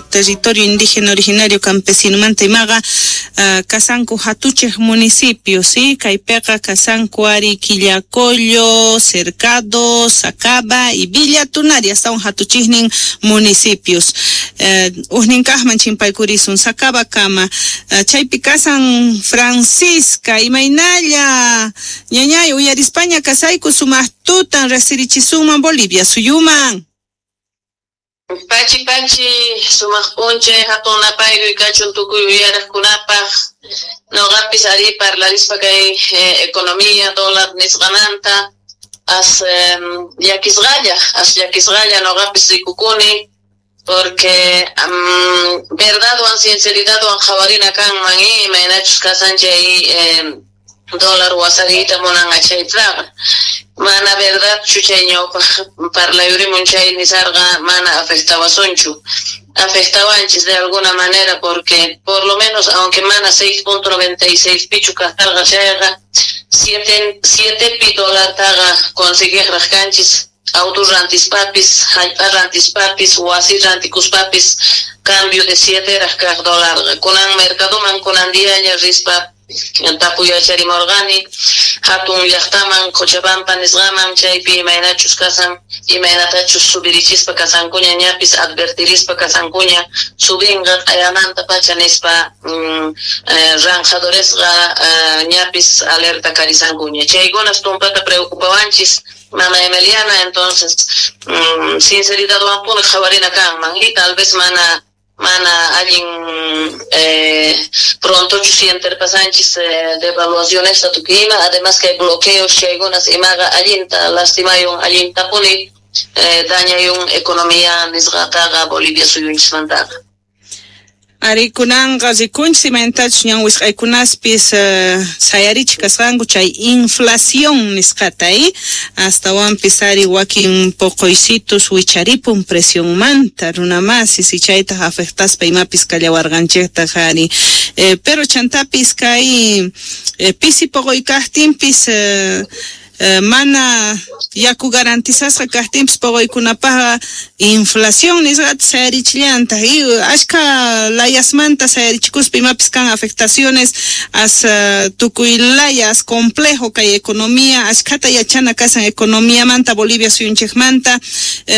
Territorio indígena originario campesinomanta imaqa kasanku hatuchej municipios, ¿sí? Kaypiqa kasanku ari Quillacollo, Cercado, Sacaba y Villa Tunari, astawan hatuchejnin municipios. Ujnin kajman chimpaykurisun Sacaba kama. Chaypi kasan Francisca, imaynalla ñañay uyarispaña kasayku sumaq tutan rejsirichisunman Bolivia suyuman. Pachi pachi sumaq p'unchay hatun napaykuy kachun tukuy uyaraqkunapaq noqapis ari parlarispa kay economía dólar nisqamanta as llakisqalla as llakisqalla noqapis rikukuni porque verdadwan sinceridadwan qhawarina kanman imaynachus kasan chay dólar wasariyta munan achaytaqa mana verdadchu chay ñawpaq parlayurimun chay nisarqa mana afectawasunchu afectawanchis de alguna manera porque por lo menos aunque mana 6.96 pichu kasarqa chayqa 7 pi dólartaqa conseguiqraq kanchis auto rantispapis hallp'a rantispapis wasi rantikuspapis cambio de 7 raq kaq dólarqa kunan mercadoman kunan diaña rispa tapuyacharimurqani hatun llaqtaman Cochabamba nisqaman chaypi imaynachus kasan imaynatachus subirichispa kasankuña ñapis advertirispa kasankuña subinqa q'ayamanta pacha nispa ranjadoresqa ñapis alerta karisankuña chaykunas tumpata preocupawanchis mama Emiliana entonces sinceridadwanpuni qhawarina kanman y tal vez mana allin prontochu sienterpasanchis devaluaciones tukuy ima además que bloqueos chaykunas imaqa allinta lastimayun allintapuni dañayun economía nisqataqa Bolivia suyunchismantaqa. Ari kunanqa rikunchis imaynatachus ñan wisq'aykunaspis sayarichik kasqanku chay inflación nisqata astawanpis ari wakin poqoysitus wicharipun presionmanta runamasis y chaytaj afectaspa imapis kallawarqanchejtaj ari pero chantapis kay pisi poqoy kajtinpis mana yaku garantizasqa kajtinpis poqoykunapaqqa inflación nisqata sayarichillantaq y ashka layasmanta sayarichikuspa imapis kan afectaciones as tukuy layas complejo kay economía ashkata yachana kasan economiamanta Bolivia suyunchejmanta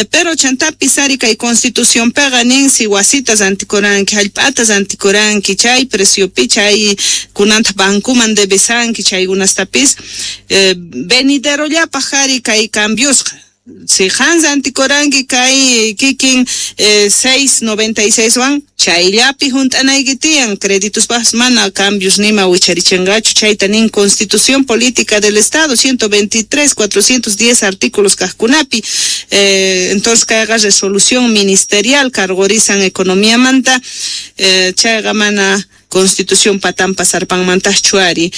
pero chantapis ari kay constitucionpiqa nin si wasitas rantikuranki hallp'atas rantikuranki chay preciopi chay kunanta bancuman debesanki chaykunastapis veniderollapaq ari kay cambiosqa si qan rantikuranki kay kikin 6.96 wan chayllapi junt'anayki tiyan créditospaqpis mana cambios nima wicharichinqachu chayta nin Constitución Política del Estado 123 410 artículos kajkunapi entonces kayqa resolución ministerial cargorizan economiamanta chayqa mana Constitución patampa sarpanmantajchu ari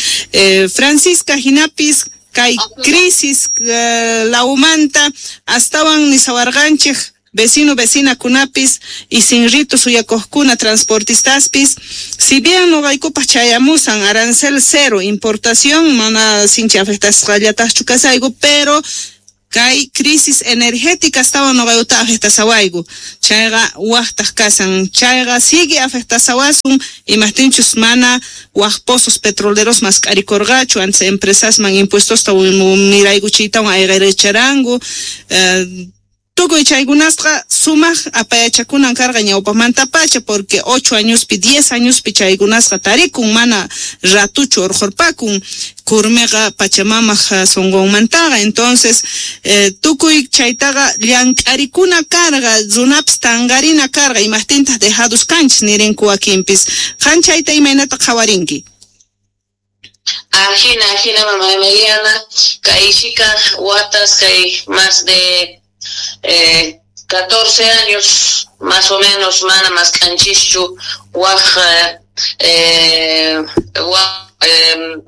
Francisca hinapis kay crisis lawmanta astawan nisawarqanchej vecino vecina kunapis y sin ritos suyakojkuna transportistaspis si bien noqaykupaq chayamusan arancel cero importación mana sinchi afectasqallatajchu kasayku pero kay crisis energética astawan noqaykuta afectasawayku chayqa wajtaj kasan chayqa sigue afectasawasun imajtinchus mana waj pozos petroleros mask'arikurqachu antes empresasman impuestosta miraykuchiytawan ayqiricharanku tukuy chaykunasqa sumaq apayachakunan karqa ñawpaqmantapacha porque 8 añospi 10 añospi chaykunasqa tarikun mana ratuchu urqurpakun kurmiqa pachamamaq sunqunmantaqa entonces tukuy chaytaqa llank'arikuna karqa runapis tanqarina karqa imajtintaq dejados kanchis nirinku wakinpis qan chayta imaynata qhawarinki. Ajina mama Emiliana kay shika watas kay más de 14 años más o menos mana mask'anchischu waj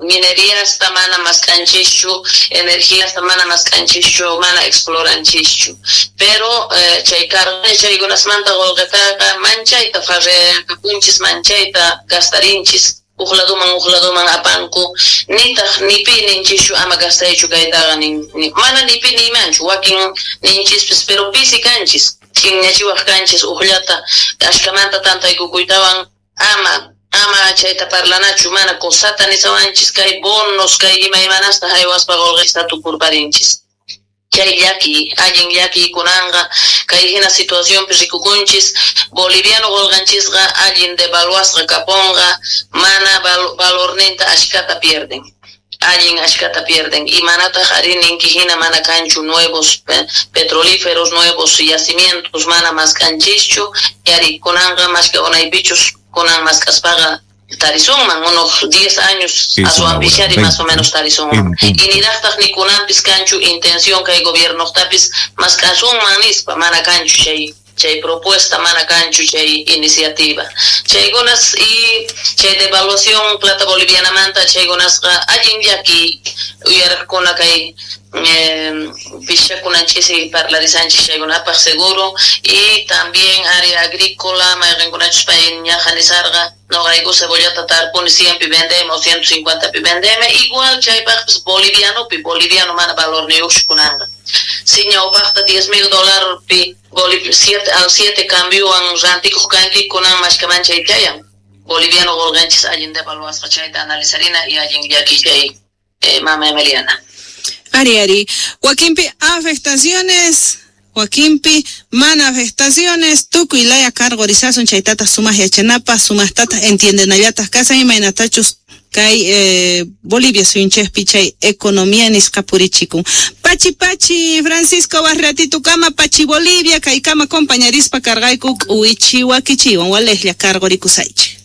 mineríasta mana mask'anchischu energiasta mana mask'anchischu mana exploranchischu pero chay karqa chaykunasmanta qullqitaqa manchayta farrekapunchis manchayta gastarinchis uj laduman apanku nitaq nipi ninchischu ama gastaychu kaytaqa mana nipi niymanchu wakin ninchispis pero pisi kanchis. Ch'inñachiwaj kanchis ujllata ashkamanta tantaykukuytawan ama chayta parlanachu mana cosata nisawanchis kay bonos kay imaymanasta haywaspa qolqesta tukurparinchis. Chay llaki, allin llaki kunanqa kay hina situacionpi rikukunchis boliviano qolqanchisqa allin devaluasqa kaponqa mana valorninta ashkata pierden. Allin ashkata pierden y manataq ari ninki hina mana kanchu nuevos petrolíferos, nuevos yacimientos mana maskanchischu yari kunanqa mashka unaypichus kunan maskaspaqa tarisunman unos 10 años aswanpishari más o menos tarisunman y niraqtaq ni kunanpis kanchu intención kay gobiernoqtapis maskasunman nispa mana kanchu chay propuesta mana kanchu chay iniciativa chaykunas y chay devaluación plata bolivianamanta chaykunasqa allin llaki uyaraqkuna kay pishakunanchis parlarisanchis chaykunapaq seguro y también área agrícola mayqinkunachus pay ñaja nisarqa noqayku cebollata tarpuni 100 pi vendemos 150 pi vendeme igual chaypaqpis bolivianopi boliviano mana valorniyuqchu kunanqa si ñawpaqta $10,000 pi 7 al 7 cambiowan rantikuq kanki kunan mashkaman chay chayan boliviano qolqanchis allin devaluasqa chayta analizarina y allin llaki chay mama Emiliana. Ari, ari. Wakinpi afectaciones, wakinpi mana afectaciones, tukuy laya cargorizasun chaytata sumaq yachanapaq, sumaqtata entiendenallataq kasan imaynatachus kay Bolivia suyunchikpi chay economía nisqa purichikun. Pachi pachi Francisco barratito kama pachi Bolivia kay kama compañarispa cargayku k'uwichi wakichiwan walejlla cargorikusaychik.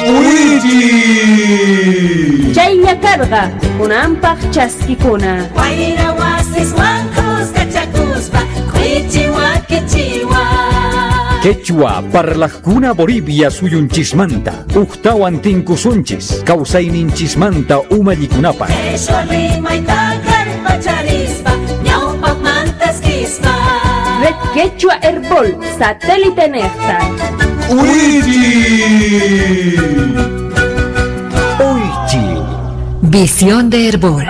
K'uwichi. Chaylla karqa kunanpaq chaskikuna. Wayra wasiswan kuskachakuspa k'uwichi wakichiwan. Quechua parlajkuna Bolivia suyunchismanta uqtawan tinkusunchis kawsayninchismanta umallikunapaq. Quechua rimayta kallpacharispa ñawpaqmantaskispa. Red Quechua Herbol satélite nefta. K'uwichi. Oichi. Visión de Herbol.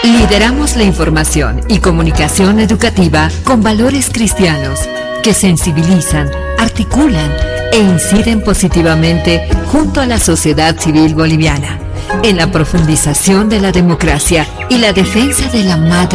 Lideramos la información y comunicación educativa con valores cristianos que sensibilizan, articulan e inciden positivamente junto a la sociedad civil boliviana en la profundización de la democracia y la defensa de la madre.